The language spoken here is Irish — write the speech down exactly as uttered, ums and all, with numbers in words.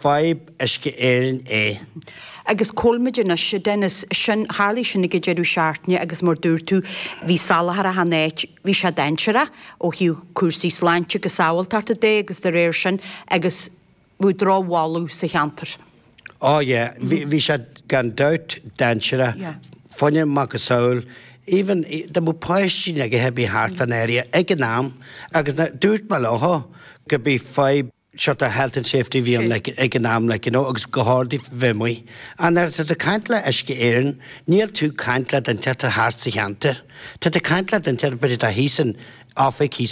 Fadhb Uisce Éireann é. Agus colmid anois Dennis sin tharla sin ag deireadh seachtaine agus mar dúirt tú bhí salachar achan áit bhí sé dainséarach ó thaobh cúrsaí sláinte agus sábháilteachta de agus de réir sin agus bhí drochbholadh sa cheantar. Oh yeah, bhí sé gan dabht dainséarach, fuinneamh macasamhail, even dá mbeadh páistí ag bheith thart fan area ag an am agus dúirt mé leo go bí fadhb sort of health and safety bhí an like, ag an am like, you know, agus go hardaí bheith An ar tá caint le Uisce Éireann, níl tú caint le duine atá thart sa cheantar. Tá tú caint le duine b'fhéidir tá thíos in oifig thíos